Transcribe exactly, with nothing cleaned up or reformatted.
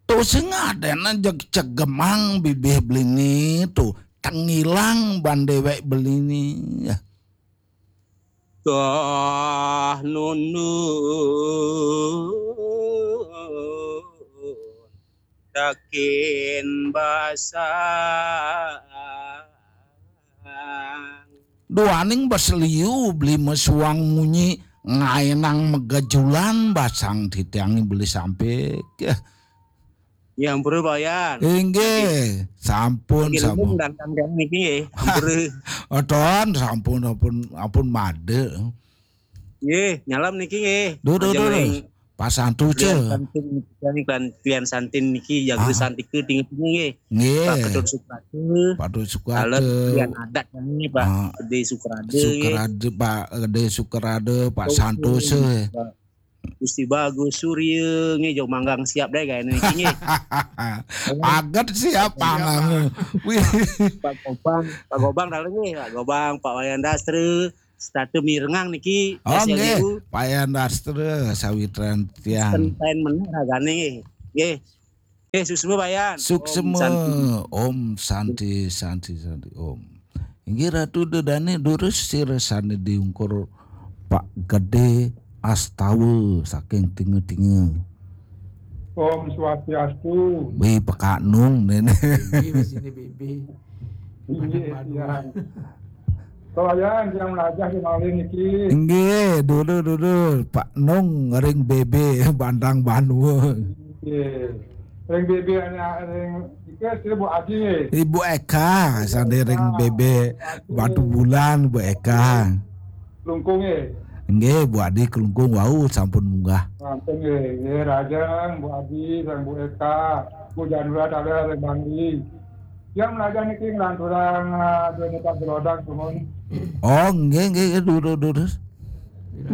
Tu sing adéna jeg cegemang bibih Beli Ni tu, tengilang ban déwék Beli Ni. Yah. Toh nundun dakin basang. Duaning bas liu Beli Mesuang munyi ngaénang magejulan basang titiang Beli Sampik. Yah. Ya, ampura, Pak Yan. Inggih, sampun, sampun. Dangdang niki nggih, ampura. Aton, sampun, ampun, ampun made. Nggih, nyalam niki nggih. Duh, duh, duh, duh. Pak Santu, Cé. Klian Santin, klian, klian Santin niki jaga santika tinggi-tinggi nggih. Nggih. Pak Ketut Sukrade. Pak Ketut Sukrade. Kalau klian adat niki, Pak Gedé Sukrade nggih. Sukrade, Pak Gedé Sukrade, Pak Santu, Cé. Gusti Bagus Surya nggih, jog manggang siap deh kayaknya niki nggih. Aget siap panggang. Wih. Pak Gobang, Pak Gobang dalam nggih, Pak Gobang, Pak Wayan Dastra, setata mirengang niki. Oh, nggih. Pak Wayan Dastra, sawitran tiang. Ten meneh ragane nggih. Nggih. Nggih, suksma Pak Yan. Suksma. Om Santi, Santi, Santi, Om. Inggih Ratu Dedane durus sira sane diungkur Pak Gede Astawa saking Tinga-Tinga. Om Swastiastu. Wi pekak nung nene. Bebe sini bebe. Inggih, iya. Kelayan yang melajah di malih niki. Inggih, dulu dulu Pak Nung ring bebe Bandang Banua. Inggih. Ring bebe ring iki sira Bu Adi. Ibu Eka sane ring bebe Batu Bulan Bu Eka. Lungkung nggih. Nggih, Bu Adi Kelungkung wau sampun munggah. Sampun nggih. Nggih, Rajang, Bu Adi, sang Bu Eka, Bu Janura Taler ring Bangli. Yang melajah niki nglanturang ah, dene Pak Gelodang sumun. Oh, nggih nggih nggih, durus durus.